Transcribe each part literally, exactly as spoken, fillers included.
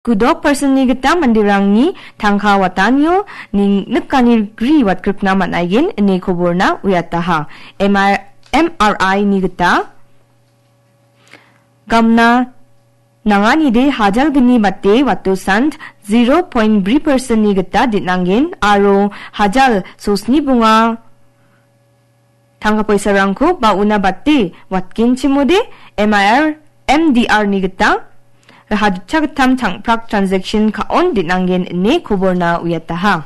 Kudok personni gita manderangni tangka watanio ning nikani gri watgrikna man·aigen ine koborna uiataha. M R, M R I ni gita gamna nanganide hajalgni bate watosant zero point bri personni gita dinangen aro hajal sosni bonga tangka poisarangko ba una bate watgenchimode M I R, M D R ni gita raha dipchagittam changprak transaction ka·on dinangen ine koborna uiataha.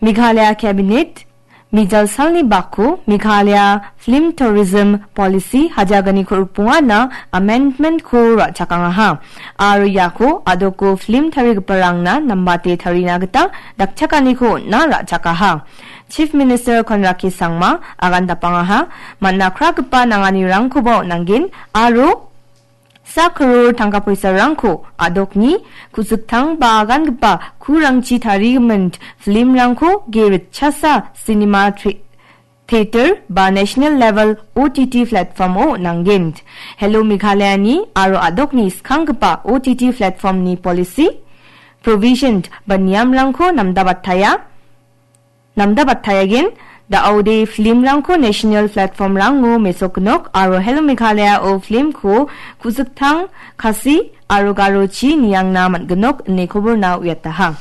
Meghalaya Cabinet mijal salni bako Meghalaya Film Tourism Policy hajalgni korupongana amendment-ko ra·chakangaha. Aro iako adoko film tarigiparangna nambate tarina gita dakchakaniko on·na ra·chakaha. Chief Minister Conrad K Sangma agandapangaha, man·a kragipa nanganirangkoba on·angen aro sa kror tangka poisarangko adokni ku·siktang ba agangipa kurangchi tarigimin film-rangko ge ritchasa cinema tre-, theater ba national level O T T platform-o on·angen. Hello Meghalaya-ni aro adokni skanggipa O T T platform-ni policy provision ba niamrangko namdabataya, namdabataiagen, da·ode film-rangko national platform-rango mesokgnok aro Hello Meghalaya-o film-ko ku·siktang Khasi aro Garochi niangna man·gnok ine koborna uiataha.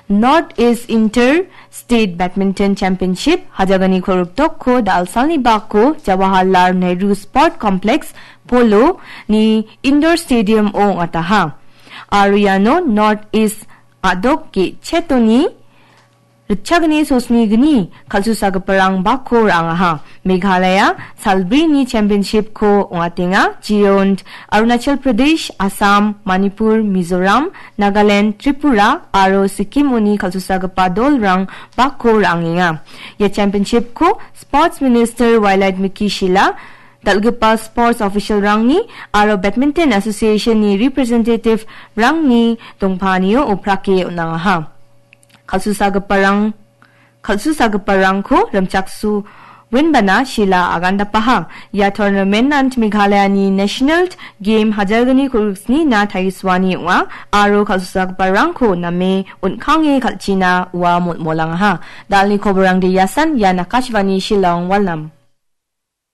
North East Inter State Badminton Championship hajalgni koruptokko da·alsalni bako Jawaharlal Nehru Sport Complex Polo ni Indoor Stadium-o ong·ataha. Aro iano North East a·dok ge·chetoni ritchagni sosnigni kal·susagiparang bako ra·angaha. Meghalaya salbrini championship-ko ong·atenga. Jeon, Arunachal Pradesh, Assam, Manipur, Mizoram, Nagaland, Tripura aro Sikkim-oni kal·susagipa dolrang bako ra·angenga. Ia championship-ko Sports Minister Wailadmiki Shylla, dal·gipa sports official-rangni aro Badminton Association-ni representative-rangni dongpanio oprake on·angaha. Kal·susagiparang, kal·susagiparangko rimchaksoenbana Shylla agandapaha. Ia tournament-an Meghalaya-ni National Game hajalgni koriksnina tarisoani ong·a aro kal·susagiparangko name on·kange kal·china ua molmolangaha. Dalni koborangde iasan, ian Akashvani Shillong, Walnam.